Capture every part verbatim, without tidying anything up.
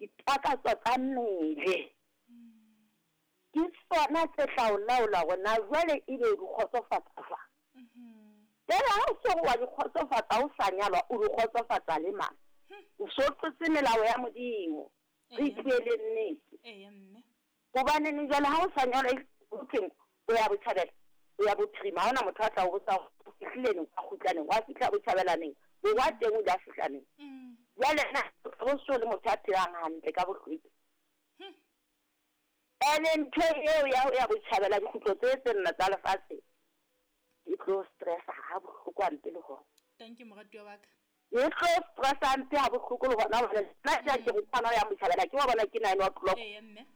Ditakatso tsa mmele. Ke tsona tse tla o laola hore na jwale ebe o di kgotsofatsa jwang. Jwale ha o so wa di kgotsofatsa o sa nyalwa, o di kgotsofatsa le mang? O so tlotse melao ya Modimo. Re ipuele nnete. Eya mme. Hobaneng jwale ha o sa nyalwa o thweng o ya botjhabela, o ya bophirima, ha hona motho a tla o botsa hore o fihlile neng, wa kgutla neng, wa fihla botjhabela neng, borwa teng o ile a fihla neng. Jwale na o so le motho a phelang hantle ka bohlweki. Ene ntho eo ya ho ya botjhabela dikgutlo tse tse nne tsa lefatshe e tlo stressa ha bohloko hampe le hona. Thank you moratuwa wa ka. E tlo stressa hampe ha bohloko le hona hobane nna ke ke motho ya botjhabela ke wa bona ke nine o'clock. Eya mme.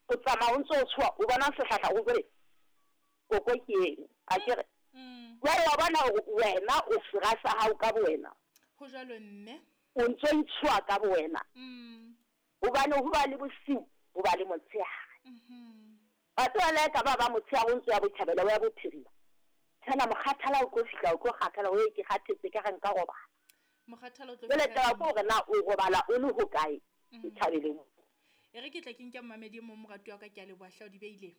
O tsamaya o ntso o tshoha o bona sehlahla o re koko ke eng a ke re. Jwale wa bona hore wena o sera sa hao ka bowena. Ho jwalo mme. O ntso itshoha ka bowena. Mm. Hobane ho ba le bosiu, ho ba le motshehare. Mhm. Batho ba le ka ba ba motshehare o ntso ya botjhabela o ya bophirima. Tshana mokgathala o tlo fihla o tlo kgathala o ye ke kgathetse ka re nka robala. Mokgathala o tlo Jwale fihla taba ke hore na o robala o le hokae Mm. botjhabeleng. E re ke tla ke nke mmamedi e mong moratuwa wa ka, ke a leboha hle o di beile.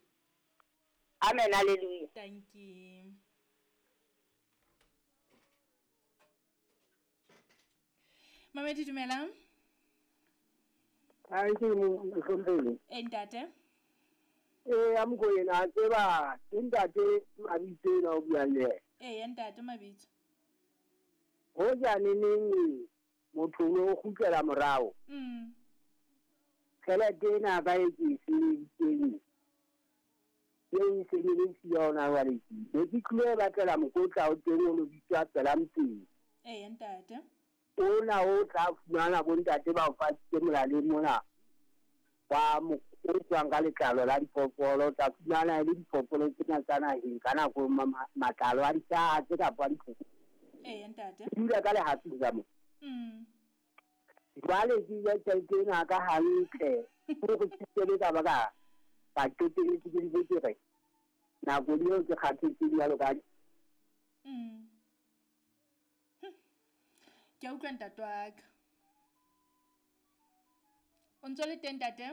Amen, hallelujah. Thank you. Mamedi dumelang. Ha ke mohlomphehi. Eh ntate. Eh a Mokoena a tseba ke ntate Mabitso ena o buang le yena. Eh ntate Mabitso. Hoja neneng motho o kgutlela morao. Mm. Tjhelete ena ka e ke e sebeditseng. E e sebeditseng yona jwale ke. Ne ke tlile batlela mokotla o teng o lo bitswa Tsela-Mpeng. Eh ntate. Ona o tla fumana bontate ba o fatshitse molaleng mona. Ba mo o tswang ka letlalo la diphoofolo, tla fumana e le diphoofolo tsena tsa naheng ka nako matlalo a dikatse kapa a dikgomo. Eh ntate. Ke dula ka lehafing ka mo. Mm. Jwale ke ja tjhelete ena ka hantle. Hore ke tsebe ka ba ka ka qetelletse ke ntse ke re nako eo ke kgathetse jwalo ka Mm. Ke a utlwa ntate wa ka. O ntso le teng ntate?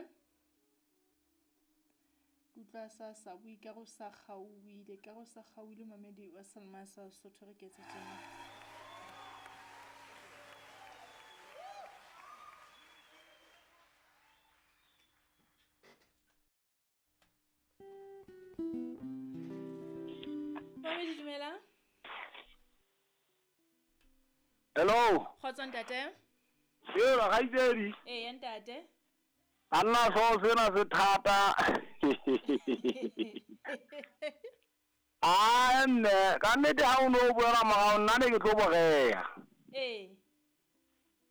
Ke utlwa sa sa bue ka re o sa kgaohile, ka re o sa kgaohile mamedi wa Salma sa Sotho re ke etse tjena. Mamedi dumela. Hello. Kgotso ntate. Sela kgaitsedi. Eh ntate. Anna so sena se thata. Ah nne, ka nnete ha o no buela morao nna ne ke tlo boreya. Eh.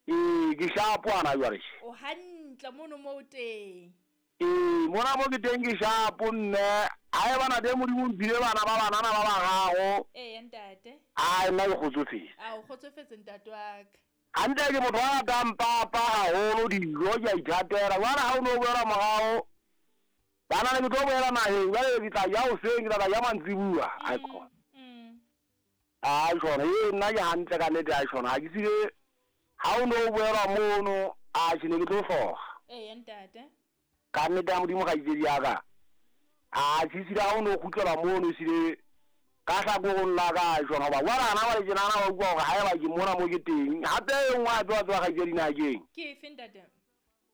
Eh, ke shapo ana jwale. O hantle mono mo o teng. Eh, mona mo ke teng ke shapo nne. Ha e bana teng Modimo o mphile bana ba banana ba bararo. Eh ntate. Ai nna ke kgotsofetse. A o kgotsofetse ntate wa ka. Hantle ke motho a ratang papa haholo, dijo ke a ithatela. Jwale ha o no buela morao, bana ne ke tlo boela naheng, jwale ke tla ja hoseng, ke tla ja mantsibuya. Ai khona. Mm. Ai khona, e nna ke hantle ka nnete ai khona. Ha ke tsebe ha o no buela mono, a ke ne ke tlo hloka. Eh ntate. Ka nnete ya Modimo kgaitsedi ya ka. A ke tsebe ha o no kgutlela mono sile ka hlakorong la ka jona hoba wa rana ba le tjenana ba utlwa hore ha eba ke mona mo ke teng. Hape e nngwe hape wa tseba kgaitsedi na keng? Ke efe ntate?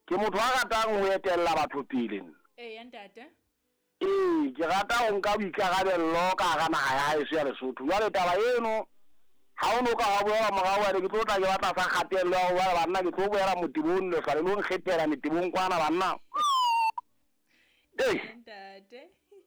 Ke motho a ratang ho etella batho pele nna. Eh ntate. Ee, ke rata ho nka boikarabello ka hara naha ya heso ya Lesotho. Jwale taba eno ha o no ka wa boela morao jwale ke tlo tla ke batla sa kgatello ya hore banna ke tlo boela motebong lehlwa le lo nkgethela metebong kwana banna. Ee. Ntate.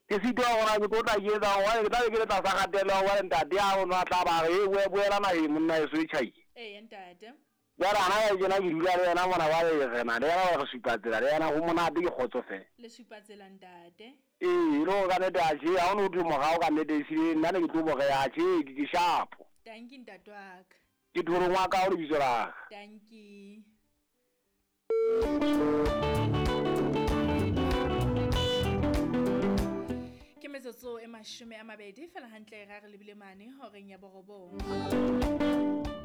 Ke sitwa hore ke tlo tla ke etsa hobane ke tla be ke le tlasa kgatello ya hobane ntate ya rona a tla ba re, e boela naheng monna heso e tjhai. Eh ntate. Jwale hana ya tjena ke dula le yena mona jwale re na le yena re supa tsela le yena ho monate ke kgotsofetse. Le supa tsela ntate. Ee, e le hore ka nnete atjhe ha o no thwe morao ka nnete ehlile nna ne ke tlo boreha atjhe ke ke shapo. Thank you ntate wa ka. Ke Thorong wa ka o lebitso la ka. Thank you. Ke metsotso e mashome a mabedi fela hantle ra re lebile mane horeng ya borobong.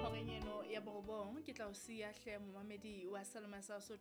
Horeng eno ya borobong ke tla o siya hle momamedi wa Salma sa Sotho.